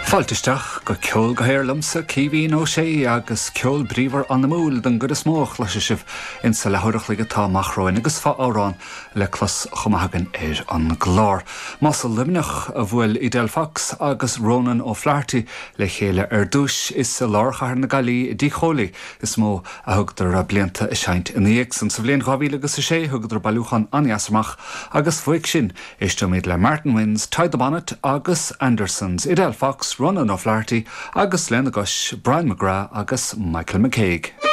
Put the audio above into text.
Fáilte isteach go Ceol go hAer liomsa, Caoimhín Ó Sé, agus ceol bríomhar anamúil den gcuid is mó a chloisfidh sibh insa leathuair a chloig atá amach romhainn agus fo-amhrán le clos chomh maith againn ar an gclár. Más i Luimneach a bhuail Edel Fox agus Ronan O'Flaherty le chéile ar dtúis, is i lár chathair na Gaillimhe i dTigh Chóilí is mó a thugadar blianta ag seinnt ina dhiaidh san. Sa bhliain 2006 thugadar bailiúchán an-dheas amach agus uaidh sin Éisteoimid le Martin Wynne's Tie the Bonnet agus Andersons, Edel Fox, Ronan O'Flaherty agus lena gcois, Brian McGrath agus Michael McCague.